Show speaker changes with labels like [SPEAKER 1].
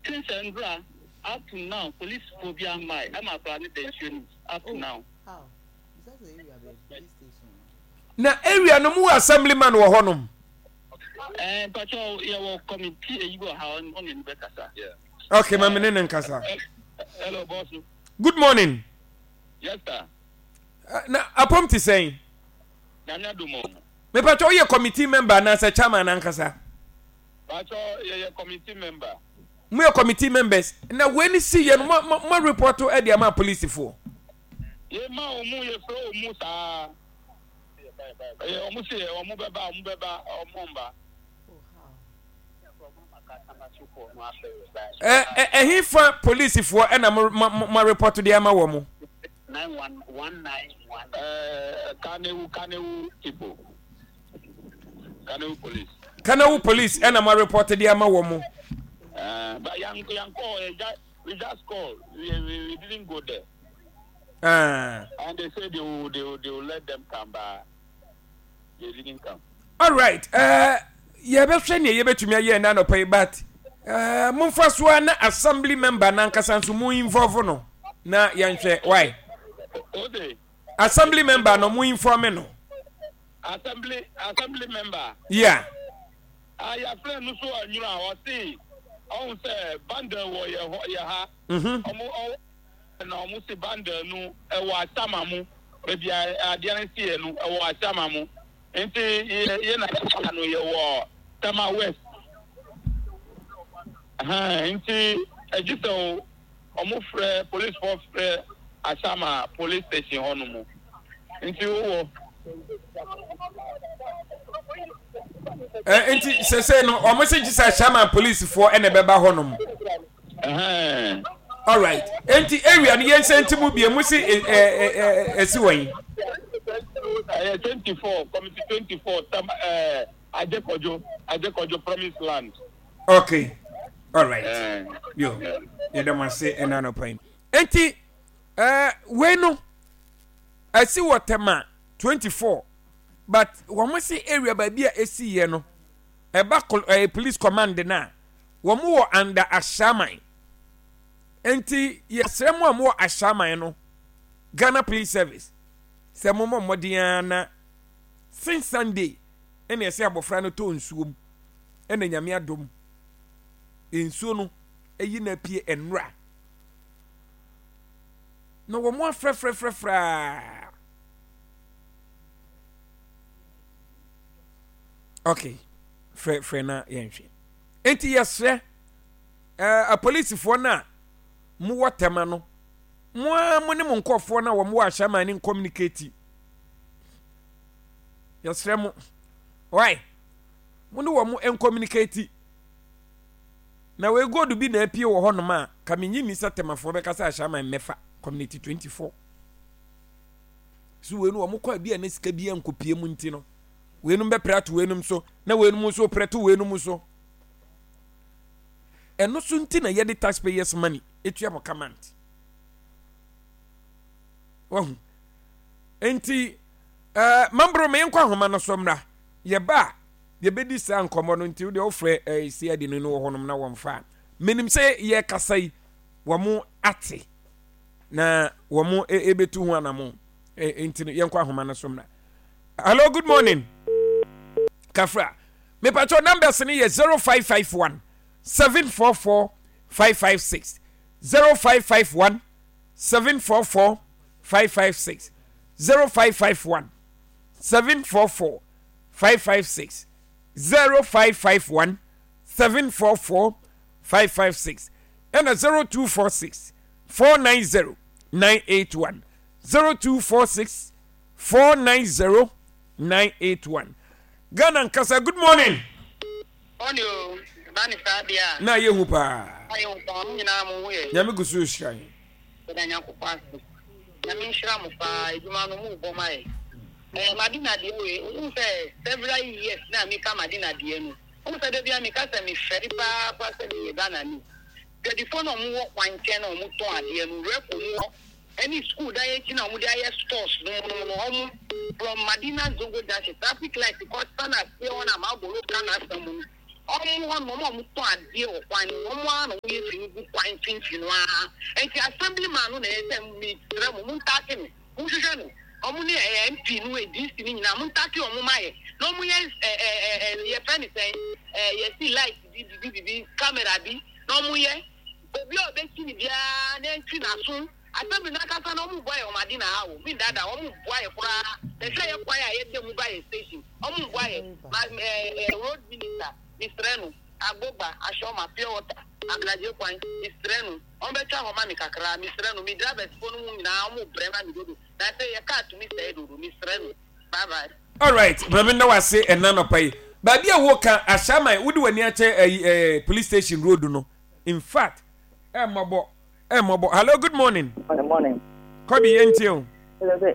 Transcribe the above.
[SPEAKER 1] Since ɛndra up to now police foɔ biaa mmae ɛma akwadaa no da nsuo no mu up to now.
[SPEAKER 2] Na area no mu wɔ assemblyman wɔ hɔ nom.
[SPEAKER 1] Ɛɛ mpakyɛw yɛwɔ committee eyi wɔ ha ɔne no bɛkasa.
[SPEAKER 2] Okay, ma me ne no nkasa.
[SPEAKER 1] Hello boss.
[SPEAKER 2] Good morning.
[SPEAKER 1] Yes sir.
[SPEAKER 2] Na apom te sɛn?
[SPEAKER 1] Nyame adom o.
[SPEAKER 2] Mepakyɛw woyɛ committee member anaasɛ chairman ankasa?
[SPEAKER 1] Pakyɛw yɛyɛ committee member.
[SPEAKER 2] Mo yɛ committee members na wei ne si yɛ no mo mo mo report de ama polisifoɔ.
[SPEAKER 1] Yɛ ma wɔn yɛ frɛ wɔn saa ɛyɛ wɔn se wɔn bɛba wɔn bɛba wɔn mba.
[SPEAKER 2] Ɛ ɛ ɛhe fa polisifoɔ ɛna mo mo mo report de ama wɔn.
[SPEAKER 1] Ɛɛ Kanewu Kanewu people. Kanawu police.
[SPEAKER 2] Kanawu police ɛna mo report de ama wɔn mo.
[SPEAKER 1] Uh, but yan yan call eh, we just call we, we, we didn't go there. And they say they will let them come but they didn't come.
[SPEAKER 2] All right. Yɛbɛhwɛ nea yɛbɛtumi ayɛ ɛna anɔpa yi but momfa so a na assembly member nankasa nso mo involve no na yɛnhwɛ why.
[SPEAKER 1] Okay.
[SPEAKER 2] Assembly member no mo inform no.
[SPEAKER 1] Assembly assembly member.
[SPEAKER 2] Yeah.
[SPEAKER 1] Ah yɛafrɛ no so anwunu a ɔse ɔhu sɛ bundle wɔ yɛ hɔ yɛ ha. Mhm. Ɔmo ɔ na ɔmo se bundle no ɛwɔ asama mu baabi a adeɛ no si yɛ no ɛwɔ asama mu nti yɛ yɛ na yɛ no yɛ wɔ Tema West. Ɛhɛn nti ɛgye sɛ o. Ɔmo frɛ police foɔ frɛ Ashama police station hɔ nom nti wo wɔ.
[SPEAKER 2] Ɛ nti sese no ɔmo se gye sɛ Ashama police foɔ ɛna ɛbɛba hɔ nom.
[SPEAKER 1] Ɛhɛn.
[SPEAKER 2] Alright nti area no yɛn nsa nti mu bie mo se ɛ ɛ ɛ ɛsi wɔ yi.
[SPEAKER 1] Ɛyɛ 24 committee 24 tam ɛɛ Agyekɔdwo Agyekɔdwo promise land.
[SPEAKER 2] Okay. Alright. Eh, Yo. Yɛda mo ase ɛna anɔpa yi. Enti eh, wei no ɛsi wɔ Tema 24 but wɔn se area baabi a ɛsi yɛ no ɛba eh, police command no a wɔn wɔ under Ashaiman. Enti yɛsrɛ mo a mo wɔ Ashaiman no Ghana Police Service sɛ mo mmɔ mmɔden ara na since Sunday ɛna ɛsɛ abɔfra no tɔ nsuo mu ɛna Nyame adom nsuo no ayi no apue nnora na wɔn afrɛfrɛfrɛfrɛ ok frɛfrɛ na yɛnhwɛ nti yɛsrɛ ɛɛ apolisifoɔ no a mowɔ tɛma no mo ara mo ne mo nkɔfoɔ no a wɔn wɔ ahyɛman ne nkɔmunikati yɛsrɛ mo why Mo ne wɔn nkɔmunikati. Na wei gold bi na apue wɔ hɔnom a, ka menye nni sɛ Temafoɔ bɛka sɛ Ashaiman mmɛfa Community 24. So wei no wɔn kɔ a bi a na sika bi ankɔpie mu nti no, weinom bɛpere ato weinom so, na weinom nso pere to weinom so. Ɛno so nti na yɛde taxpayers money etua mo kamant. Wahu. Nti, ɛɛ, eh, mambro me nkɔ ahoma no so mmra. Yɛba a, yɛbɛdi saa nkɔmmɔ no nti wodeɛ wofrɛ eh, CID no no wɔ hɔnom na wɔmfa a menim sɛ yɛkasa yi wɔn ate na wɔn ɛbɛtu ho anamo nti no yɛnkɔ ahoma no so mmra. Hello, good morning. Kafra. Mepatwɔ numbers no yɛ 0551 744 556 0551 744 556 0551 744 556 0551 744 556 ɛna 0246 490 981 0246 490 981 Ghana nkasa good morning.
[SPEAKER 3] Morning o, ba ne saa deɛ a.
[SPEAKER 2] Na ayɛ hu paa.
[SPEAKER 3] Ayɛ hu paa, mo nyinaa mo ho yɛ.
[SPEAKER 2] Nyame gu so rehyira yɛn.
[SPEAKER 3] Yɛda Nyankopɔn ase. Nyame nhyira mo paa, adwuma no mo bɔ ma yɛ. Eh, Madina deɛ wei, wohu sɛ several years na meka Madina deɛ no, wohu sɛ da biara meka sɛ mefɛre paa koraa sɛ meyɛ Ghanani. Dwadifoɔ no a wɔwɔ kwan nkyɛn na wɔtɔn adeɛ no, Reko mu hɔ ɛne school dan akyi na wɔde ayɛ stores no mu no, wɔn from Madina Zongo Junction, traffic light kɔ Sana aseɛ hɔ na Mabolo ka n'asɛm no. Ɔmo hɔ nom, ɔmo a ɔmo tɔn adeɛ wɔ kwan no ho, ɔmo ara na ɔmo yɛ fi no gu kwan mfimfini no ara. Nti assembly man no na ɛyɛ sɛ mesrɛ mo, mo ntaake no, mo nhwehwɛ no. Ɔmo ne ɛɛ MP no, DC no nyinaa, mo ntaake ɔmo ma yɛ. Na ɔmo yɛ ɛ ɛ ɛ ɛ yɛfrɛ no sɛn, ɛɛ yɛsi light bi, bibi bibi, camera bi, na ɔmo yɛ. Obi a ɔbɛsi no biara na ɛntwi n'aso. Assembly no ankasa no ɔmo boa yɛ wɔn ade na ha o, me ndaadaa wɔn, ɔmo mboa yɛ koraa. Bɛhwɛ yɛ kwan a yɛda mu ba yɛ station, ɔmo mboa yɛ. Ma ɛɛ ɛɛ road minister, mesrɛ no, Agbogba, Ashoma, pure water, Ablagye kwan, mesrɛ no, ɔmo bɛtwa hɔ ma me kakra, mesrɛ no, me drivers foɔ no mu nyinaa ɔmo brɛ ma me dodo, na sɛ yɛ car tumi sɛe dodo, mesrɛ no. Bye bye.
[SPEAKER 2] Alright, maame nda wase ɛna nɔpa yi. Baabi a woka Ashaiman, wode w'ani akyɛ ɛyi ɛɛ police station road no. In fact, ɛmmɔbɔ. Ɛmmɔbɔ. Hello, good morning.
[SPEAKER 4] Good morning.
[SPEAKER 2] Kɔbi, yɛntie o.